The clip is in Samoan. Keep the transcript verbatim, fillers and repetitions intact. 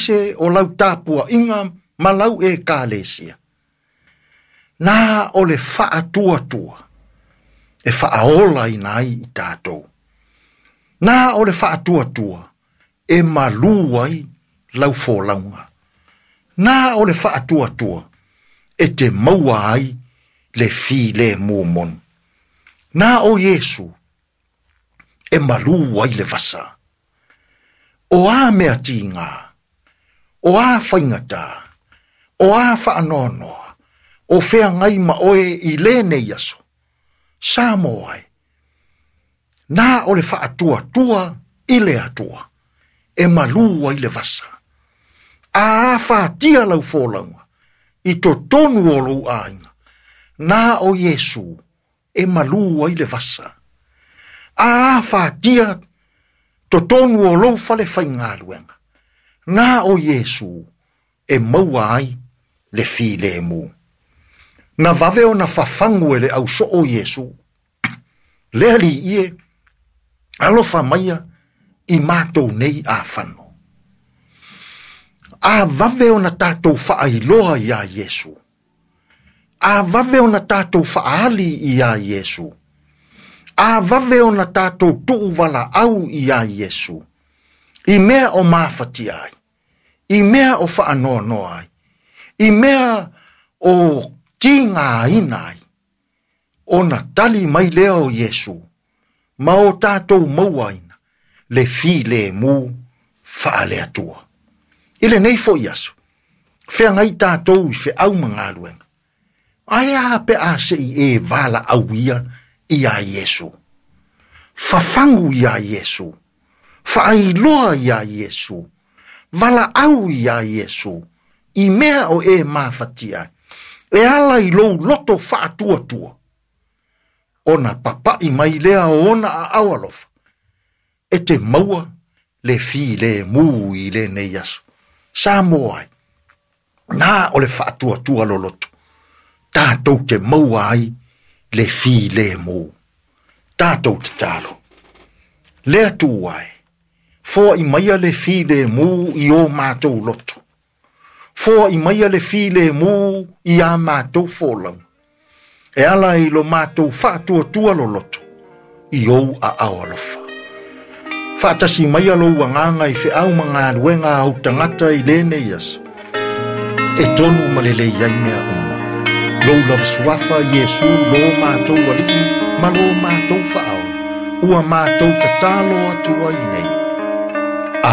aemaise o lau tapuaiga ma lau ekalesia. Na o le faatuatua e faaolaina ai i tatou. Na o le faatuatua e malu ai lau folauga. Na o le faatuatua e te maua ai le filemu moni. Na o Iesu e malu ai le vasa. O a mea tiga, o a faigata, o a faanoanoa, o feagai ma oe i lenei aso, Samoa e, na o le faatuatua i le Atua, e malu ai le vasa. A afatia lau folauga, i totonu o lou aiga, na o Iesu e malu ai le vasa. A afatia totonu o lou fale faigaluega, na o Iesu e maua ai le filemu. Na vave ona fafagu e le ausoo Iesu. Le Alii e, alofa maia i matou nei afano. A vave ona tatou faailoa ia Iesu. A vave ona tatou faali ia Iesu. A vave ona tatou tuuvalaau ia Iesu. I mea o mafatia ai, i mea o faanoanoa ai, i mea o tigaina ai, ona tali mai lea o Iesu, ma o tatou mauaina le filemu faale-Atua. I lenei foi aso, feagai tatou i feau ma galuega. Ae a pe a se i e valaauia ia Iesu. Fafagu ia Iesu. Faailoa ia Iesu. Valaau ia Iesu. I mea o e mafatia. E ala i lou loto faatuatua. Ona papai mai lea o ona aao alofa. E te maua le filemu i lenei aso. Samoa ai, na o le faatuatua loloto. Tatou te maua ai le filemu. Tatou tatalo. Le Atua e, foai maia le filemu i o matou loto. Foai maia le filemu i a matou folauga. E ala i lo matou faatuatua loloto i ou aao alofa. Faatasi maia lou agaga i feau ma galuega au tagata i lenei aso. E tonu ma lelei ai mea uma. Lou lava suafa Iesu lo matou Alii ma lo matou Faaola. Ua matou tatalo atu ai nei.